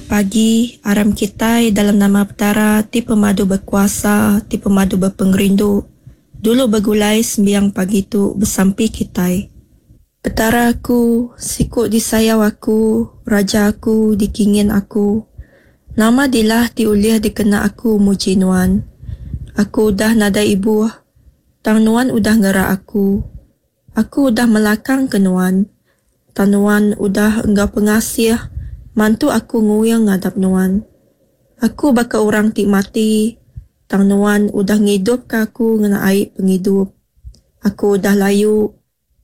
pagi, aram kitai dalam nama Petara ti pemadu bekuasa, ti pemadu bepengerindu, dulu begulai sembiang pagi tu besampi kitai. Petara aku, siku disayau aku, Raja aku, dikingin aku. Nama dilah ti ulih dikena aku muji Nuan? Aku udah nadai ibuh, tang Nuan udah ngerak aku. Aku udah melakangka Nuan, tang Nuan udah enggau pengasih mantu aku nguing ngadap Nuan. Aku baka orang ti mati, tang Nuan udah ngidupka aku ngena ai pengidup. Aku udah layu,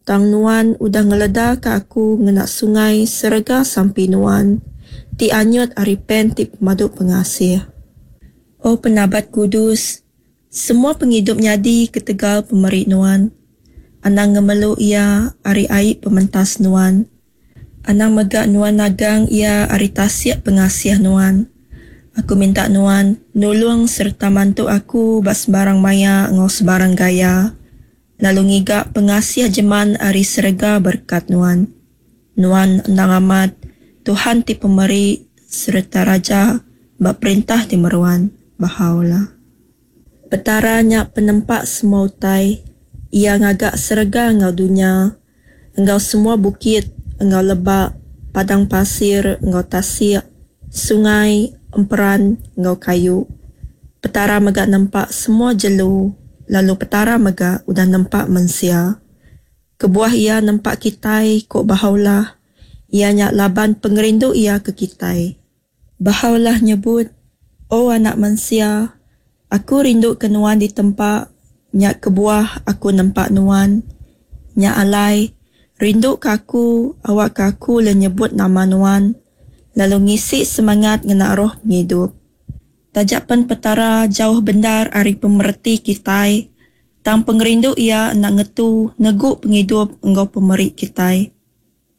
Tang Nuan udah ngeledaka aku ngena sungai serega sampi Nuan, ti anyut ari pen ti pemadu pengasih. O Penabat Kudus, semua pengidup nyadi ketegal pemeri Nuan. Anang ngemelu iya ari ai pementas Nuan. Anang mega Nuan nagang iya ari tasik pengasih Nuan. Aku minta Nuan nulung sereta mantu aku ba sebarang maya enggau sebarang gaya. Lalu ngiga pengasih jeman ari serega berekat Nuan. Nuan endang amat Tuhan ti pemeri sereta Raja ba perintah ti meruan. Bahá'u'lláh. Petara nya penempa semua utai. Iya ngaga serega enggau dunya, enggau semua bukit enggau lebak, padang pasir enggau tasik, sungai, emperan enggau kayu. Petara mega nempa semua jelu, lalu Petara mega udah nempa mensia. Kebuah Iya nempa kitai, ku Bahá'u'lláh, iya nya laban pengerindu Iya ke kitai. Bahá'u'lláh nyebut, O anak mensia, Aku rinduka nuan ditempa, nya kebuah Aku nempa nuan. Nya alai, rinduka Aku awakka Aku ulih nyebut nama nuan, lalu ngisi semangat ngena roh pengidup. Taja pen Petara jauh bendar ari pemereti kitai, tang pengerindu Iya enda ngetu negu pengidup enggau pemeri kitai.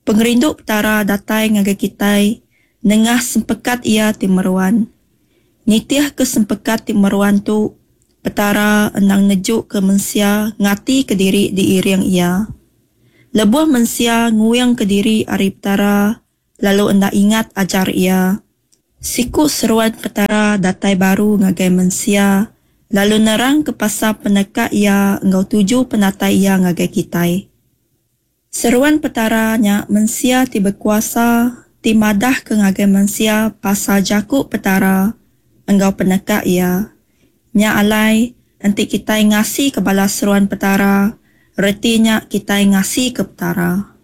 Pengerindu Petara datai ngagai kitai nengah sempekat Iya ti meruan. Nitihka sempekat ti meruan tu, Petara endang nejuka mensia ngatika diri diiring Iya. Lebuh mensia nguingka diri ari Petara lalu enda ingat ajar Iya, Siku seruan Petara datai baru ngagai mensia lalu nerangka pasal peneka Iya enggau tuju penatai Iya ngagai kitai. Seruan Petara nya mensia ti bekuasa ti madahka ngagai mensia pasal jaku Petara enggau peneka Iya. Nya alai, enti kitai ngasika bala seruan Petara, reti nya kitai ngasika Petara.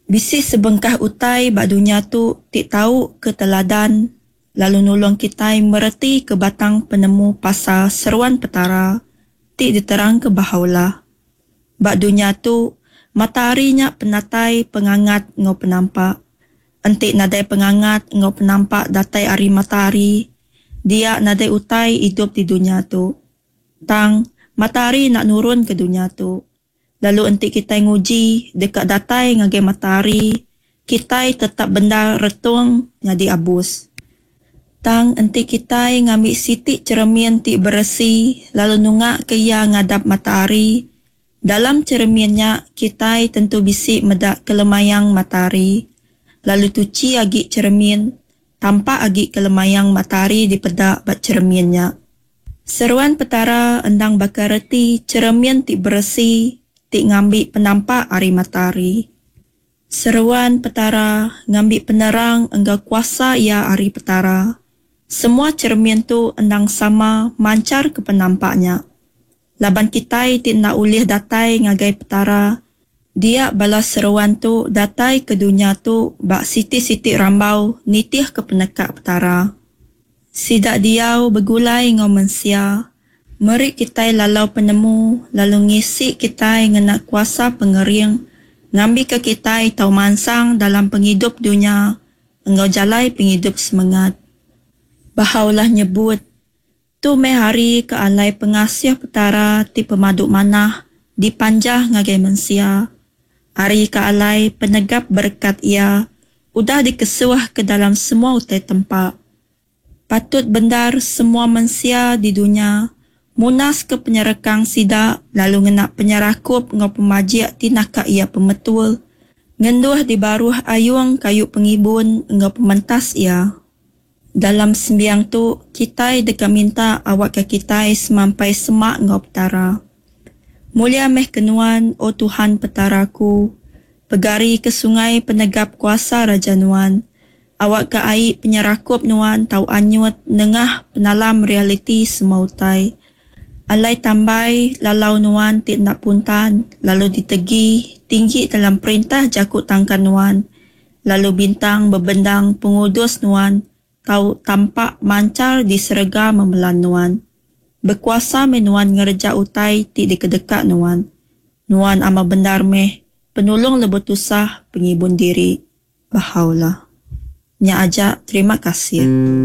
Bisi sebengkah utai ba dunya tu ti tau ke teladan lalu nulung kitai meretika batang penemu pasal seruan Petara ti diterangka Bahá'u'lláh. Ba dunya tu, matahari nya penatai pengangat enggau penampak. Enti nadai pengangat enggau penampak datai ari matahari, dia nadai utai idup di dunya tu. Tang, matahari enda nurun ke dunya tu. Lalu enti kitai nguji deka datai ngagai matahari, kitai tetap bendar retung nyadi abus. Tang enti kitai ngambi siti cheremin ti beresi lalu nungaka iya ngadap matahari, dalam cheremin nya kitai tentu bisi meda kelemayang matahari. Lalu tuchi agi cheremin, tampak agi kelemayang matahari dipeda ba cheremin nya. Seruan Petara endang baka reti cheremin ti beresi ti ngambi penampak ari matahari. Seruan Petara ngambi penerang enggau kuasa iya ari Petara. Semua cheremin tu endang sama mancharka penampak nya. Laban kitai ti enda ulih datai ngagai Petara, dia bala seruan tu datai ke dunya tu ba siti-siti rambau nitihka peneka Petara. Sida diau begulai enggau mensia, meri kitai lalau penemu lalu ngisi kitai ngena kuasa pengering ngambika kitai tau mansang dalam pengidup dunya enggau jalai pengidup semengat. Bahá'u'lláh nyebut, Tu meh hari ke alai pengasih Petara ti pemadu manah dipanjah ngagai mensia, hari ke alai penegap berekat Iya udah dikesuh ke dalam semua utai tempa. Patut bendar semua mensia di dunya munaska penyerekang sida lalu ngena penyerakup enggau pemajik ti naka iya pemetul, ngenduh di baruh ayung kayu pengibun enggau pementas Iya. Dalam sembiang tu, kitai deka minta awakka kitai semampai semak enggau Petara. Mulia meh ke Nuan, O Tuhan Petara aku, pegari ke sungai penegap kuasa raja Nuan, awakka ai penyerakup Nuan tau anyut nengah penalam realiti semua utai. Alai tambai lalau Nuan ti enda puntan lalu ditegi tinggi dalam perintah jaku tangkan Nuan, lalu bintang bebendang pengudus Nuan tau tampak manchar di serega memelan Nuan. Bekuasa meh Nuan ngereja utai ti dikedeka Nuan. Nuan amat bendar meh Penulung lebuh tusah, Pengibun diri. Bahá'u'lláh. Nya aja, terima kasih.